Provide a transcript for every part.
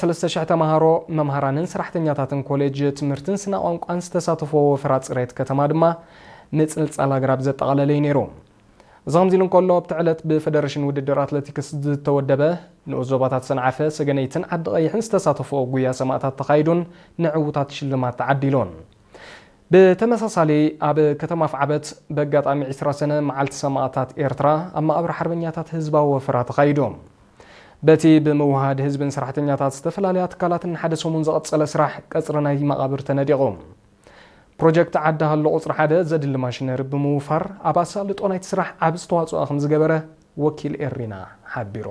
ሰለስተ ሽሕ ተምሃሮ፣ መምሃራንን ሰራሕተኛታትን ኮሌጅ ትምህርትን ስነ ቋንቋን ዝተሳተፍዎ ወፈራ ጽሬት ከተማ ድማ ምጽልጻል ኣግራብ ዘጠቓለለ እዩ ነይሩ። እዚ ከምዚ ኢሉ እንከሎ፣ ኣብቲ ዕለት ብፈደረሽን ውድድር ኣትሌቲክስ ዝተወደበ ንኡስ ዞባታት ሰንዓፈ፣ ሰገነይትን ዓዲ ቀይሕን ዝተሳተፍዎ ጉያ ሰማእታት ተኻይዱን ንዕዉታት ሽልማት ተዓዲሉን። ብተመሳሳሊ፣ ኣብ ከተማ ኣፍዓበት ብኣጋጣሚ ዕስራ ሰነ መዓልቲ ሰማእታት ኤርትራ ኣብ መቓብር ሓርበኛታት ህዝባዊ ወፈራ ተኻይዱ። በቲ ብምውሃድ ህዝብን ሰራሕተኛታት ዝተፈላለያ ትካላትን ሓደ ሰሙን ዝቐጸለ ስራሕ ቀጽሪ ናይ መቓብር ተነዲቑ። ፕሮጀክት ዓዲ ሃሎ ቁጽሪ ሓደ ዘድሊ ማሽነሪ ብምውፋር ኣብ ኣሳልጦ ናይቲ ስራሕ ዓቢ ዝተዋጽኦ ከም ዝገበረ ወኪል ኤሪና ሓቢሩ።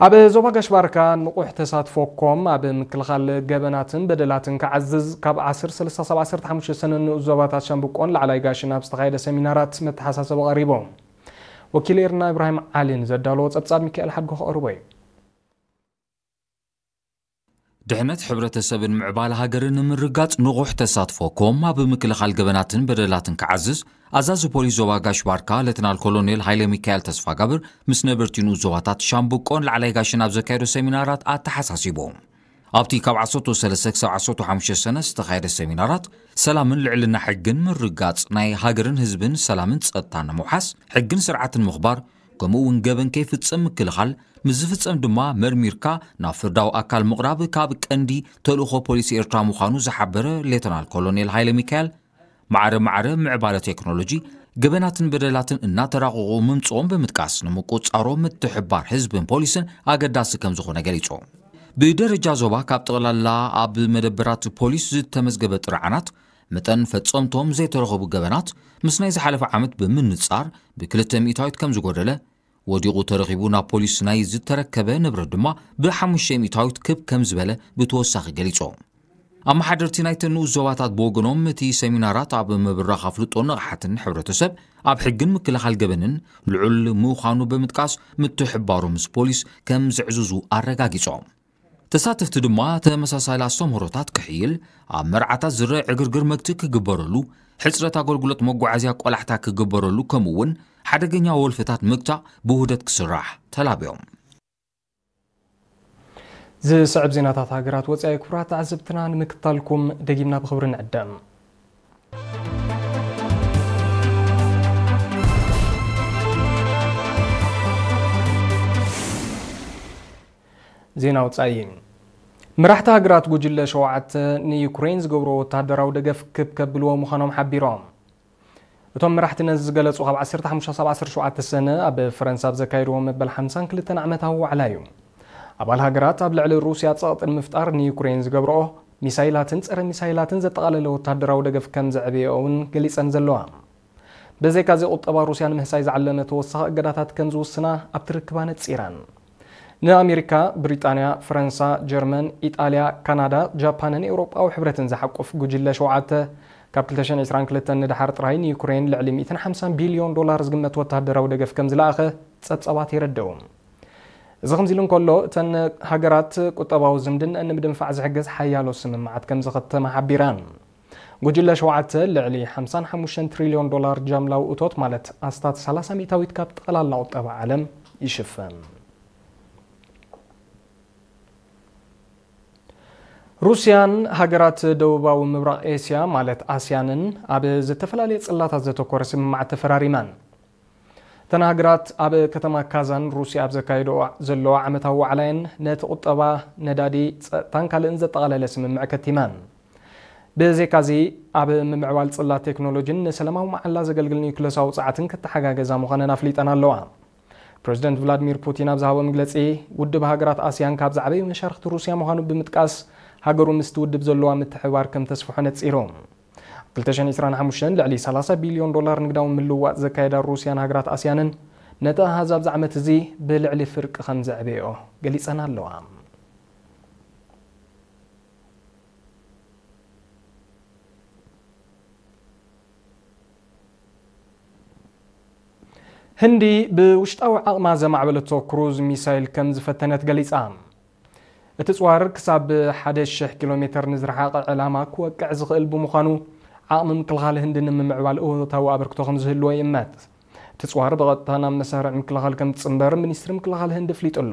ኣብ ዞባ ጋሽ ባርካ ንቑሕ ተሳትፎ ኮም ኣብ ምክልኻል ገበናትን በደላትን ክዓዝዝ ካብ ዓሰርተ ሰለስተ ክሳብ ዓሰርተ ሓሙሽተ ሰነ ንኡስ ዞባታት ሻምብቆን ላዕላይ ጋሽን ኣብ ዝተኻየደ ሰሚናራት መተሓሳሰቢ ቀሪቡ። ወኪል ኤርና ኢብራሂም ዓሊን ዘዳለዎ ጸብጻብ ሚካኤል ሓድጎ ከቕርቦ እዩ። ድሕነት ሕብረተሰብን ምዕባለ ሃገርን ንምርጋጽ ንቑሕ ተሳትፎ ኮም ኣብ ምክልኻል ገበናትን በደላትን ክዓዝዝ ኣዛዚ ፖሊስ ዞባ ጋሽ ባርካ ሌተናል ኮሎኔል ሃይለ ሚካኤል ተስፋጋብር ምስ ነበርቲ ንኡስ ዞባታት ሻምብቆን ላዕላይ ጋሽን ኣብ ዘካየዶ ሰሚናራት ኣተሓሳሲቡ። ኣብቲ ካብ ዓሰርተ ሰለስተ ክሳብ ዓሰርተ ሓሙሽተ ሰነ ዝተኻየደ ሰሚናራት ሰላምን ልዕልና ሕግን ምርጋጽ ናይ ሃገርን ህዝብን ሰላምን ጸጥታን ንምውሓስ ሕግን ስርዓትን ምኽባር ከምኡ እውን ገበን ከይፍጸም ምክልኻል፣ ምስ ዝፍጸም ድማ መርሚርካ ናብ ፍርዳዊ ኣካል ምቕራብ ካብ ቀንዲ ተልእኾ ፖሊስ ኤርትራ ምዃኑ ዝሓበረ ሌተናል ኮሎኔል ሃይለ ሚካኤል፣ ማዕረ ማዕረ ምዕባለ ቴክኖሎጂ ገበናትን በደላትን እናተራቐቑ ምምጽኦም ብምጥቃስ፣ ንምቁጽጻሮም ምትሕብባር ህዝብን ፖሊስን ኣገዳሲ ከም ዝኾነ ገሊጹ። ብደረጃ ዞባ ካብ ጠቕላላ ኣብ መደበራት ፖሊስ ዝተመዝገበ ጥርዓናት፣ መጠን ፈጸምቶም ዘይተረኸቡ ገበናት ምስ ናይ ዝሓለፈ ዓመት ብምንጻር ብክልተ ሚእታዊት ከም ዝጎደለ፣ ወዲቑ ተረኺቡ ናብ ፖሊስ ናይ ዝተረከበ ንብረት ድማ ብሓሙሽተ ሚእታዊት ክብ ከም ዝበለ ብተወሳኺ ገሊጾም። ኣመሓደርቲ ናይተን ንኡስ ዞባታት ብወገኖም፣ እቲ ሰሚናራት ኣብ ምብራኽ ኣፍልጦን ንቕሓትን ሕብረተሰብ ኣብ ሕግን ምክልኻል ገበንን ልዑል ምዃኑ ብምጥቃስ፣ ምትሕብባሮም ምስ ፖሊስ ከም ዘዕዝዙ ኣረጋጊጾም። ተሳተፍቲ ድማ ተመሳሳሊ ኣስተምህሮታት ክሕይል፣ ኣብ መርዓታት ዝረአ ዕግርግር መግትኢ ክግበረሉ፣ ሕጽረት ኣገልግሎት መጓዓዝያ ቆላሕታ ክግበረሉ፣ ከምኡ እውን ሓደገኛ ወልፍታት ምግታእ ብውህደት ክስራሕ ተላብዮም። ዝስዕብ ዜናታት ሃገራት ወጻኢ ክቡራት ተዓዘብትና ንምክታልኩም ደጊምና ብኽብሪ ንዕደም። ዜና ወጻኢ። መራሕቲ ሃገራት ጉጅለ ሸውዓተ ንዩክሬን ዝገብርዎ ወተሃደራዊ ደገፍ ክብ ከብልዎ ምዃኖም ሓቢሮም። እቶም መራሕቲ ነዚ ዝገለጹ ካብ ዓሰርተ ሓሙሽተ ክሳብ ዓሰርተ ሸውዓተ ሰነ ኣብ ፈረንሳ ኣብ ዘካየድዎ መበል ሓምሳን ክልተን ዓመታዊ ዋዕላ እዩ። ኣባል ሃገራት ኣብ ልዕሊ ሩስያ ጸቕጢ ንምፍጣር ንዩክሬን ዝገብርኦ ሚሳይላትን ጸረ ሚሳይላትን ዘጠቓለለ ወተሃደራዊ ደገፍ ከም ዘዕብየኦ እውን ገሊጸን ዘለዋ። ብዘይካዚ ቁጠባ ሩስያ ንምህሳይ ዝዓለመ ተወሳኺ እገዳታት ከም ዝውስና ኣብቲ ርክብ ኣነጺረን። ንኣሜሪካ፣ ብሪጣንያ፣ ፈረንሳ፣ ጀርመን፣ ኢጣልያ፣ ካናዳ፣ ጃፓንን ኤውሮጳዊ ሕብረትን ዝሓቁፍ ጉጅለ ሸውዓተ፣ ካብ ክልተ ሽሕን ዕስራን ክልተን ንደሓር ጥራይ ንዩክሬን ልዕሊ ሚእትን ሓምሳን ቢልዮን ዶላር ዝግመት ወተሃደራዊ ደገፍ ከም ዝለኣኸ ጸብጻባት የረድኡ። እዚ ከምዚ ኢሉ እንከሎ፣ እተን ሃገራት ቁጠባዊ ዝምድነአን ንምድንፋዕ ዝሕግዝ ሓያሎ ስምምዓት ከም ዝኸተማ ሓቢረን። ጉጅለ ሸውዓተ ልዕሊ ሓምሳን ሓሙሽተን ትሪልዮን ዶላር ጃምላዊ እቶት፣ ማለት ኣስታት ሰላሳ ሚእታዊት ካብ ጠቕላላ ቁጠባ ዓለም ይሽፍን። ሩስያን ሃገራት ደቡባዊ ምብራቕ ኤስያ፣ ማለት ኣስያንን፣ ኣብ ዝተፈላለየ ጽላታት ዘተኮረ ስምምዓት ተፈራሪመን። እተን ሃገራት ኣብ ከተማ ካዛን ሩስያ ኣብ ዘካየድኦ ዘለዋ ዓመታዊ ዋዕላየን፣ ነቲ ቁጠባ፣ ነዳዲ፣ ጸጥታን ካልእን ዘጠቓለለ ስምምዕ ከቲመን። ብዘይካዚ፣ ኣብ ምምዕባል ጽላት ቴክኖሎጂን ንሰላማዊ መዓላ ዘገልግል ኒውክለሳዊ ጸዓትን ክተሓጋገዛ ምዃነን ኣፍሊጠን ኣለዋ። ፕረዚደንት ቭላድሚር ፑቲን ኣብ ዝሃቦ መግለጺ፣ ውድብ ሃገራት ኣስያን ካብ ዝዓበዩ መሻርኽቲ ሩስያ ምዃኑ ብምጥቃስ፣ ሃገሩ ምስቲ ውድብ ዘለዋ ምትሕብባር ከም ተስፍሖ ነጺሩ። ኣብ ክልተ ሽሕን ዕስራን ሓሙሽተን ልዕሊ ሰላሳ ቢልዮን ዶላር ንግዳዊ ምልውዋጥ ዘካየዳ ሩስያን ሃገራት ኣስያንን፣ ነቲ ኣሃዝ ኣብዚ ዓመት እዚ ብልዕሊ ፍርቂ ከም ዘዕበዮ ገሊጸን ኣለዋ። ህንዲ ብውሽጣዊ ዓቕማ ዘማዕበለቶ ክሩዝ ሚሳይል ከም ዝፈተነት ገሊጻ። እቲ ጽዋር ክሳብ ሓደ ሽሕ ኪሎ ሜተር ንዝረሓቐ ዕላማ ክወቅዕ ዝኽእል ብምዃኑ፣ ዓቕሚ ምክልኻል ህንዲ ንምምዕባል እወታዊ ኣበርክቶ ከም ዝህልዎ ይእመት። እቲ ጽዋር ብቐጥታ ናብ መሳርዕ ምክልኻል ከም ዝጽንበር ሚኒስትሪ ምክልኻል ህንዲ ኣፍሊጡ ኣሎ።